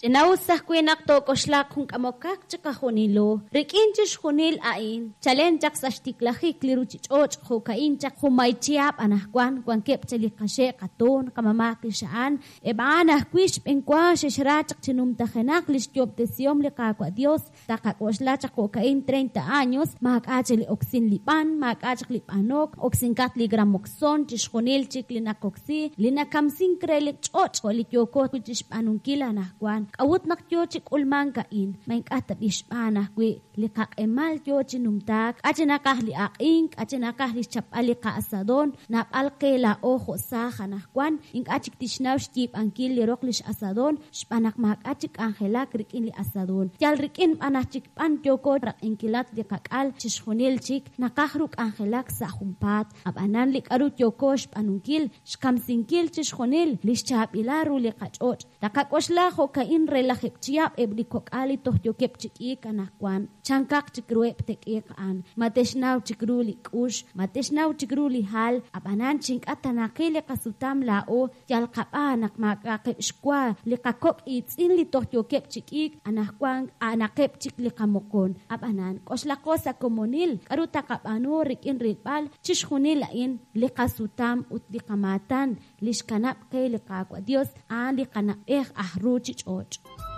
Ch'ina'us ajwi' naq took'oxlaq jun k'amokaq chiqajunilo. Rik'in chixjunil a'in, chalen chaq sa' xtiklajik li ruuchich'och' jo'ka'in chaq junmay chihab' anaqwan wankeb' chaq li qaxe' qatoon, qamama' qixa'an, eb' a'an ajwi' xb'enwa xe'xra chaq chi numtajenaq li xyoob'tesihom li Qaawa' Yos. Taqak'oxla chaq jo'ka'in 30 años, maak'a' chik li oksin li b'an, maak'a' chaq li b'anok, oksinkat li gramoxon, chixjunil chik li naqoksi, li nakamsink re li ch'och' jo' li yooko wi' chixb'aanunkil anajwan. K'a'ut naq yoo chi k'ulmank a'in? Ma ink'a' tab'i' xb'aan ajwi' li qaq'emal yoo chi numtaak? K'a' chi naqaj li aq'ink, k'a' chi naqaj li xchapb'al li qa'asadon? Naab'al qe laa'o jo' saaj anajwan ink'a' chik tixnaw xyiib'ankil li roq lix asadon, xb'aan naq maak'a' chik k'anjelak rik'in li asadon. Yal rik'in b'an aj chik b'an yooko raq'inkilat li qak'al, chixjunil chik naqaj ru k'anjelak sa' junpaat. Ab'anan li k'aru yooko xb'aanunkil, xkamsinkil chixjunil li xchaab'ilal ru li qach'och'. Taqak'oxla jo'ka'in re lajeeb' chihab' eb' li kok'al li toj yookeb' chi k'iik anaqwan. Chankaq chik ruheb' te'k'iiq a'an? Ma te'xnaw chik ru li k'ux? Ma te'xnaw chik ru li hal? Ab'anan chi ink'a' ta naqil li qasutam laa'o, Yal qab'aan naq maak'a'aqeb' xwa li qakok' iitz'in li toj yookeb' chi k'iik, anajwank a'anaqeb' chik li qamoqon. Ab'anan, k'oxlaqo sa' komonil k'aru taqab'aanu rik'in rilb'al chixjunil a'in, li qasutam ut li qamaatan li xkanab' qe li Qaawa' Dios, a'an li qana'b'ej aj ruuchich'och'.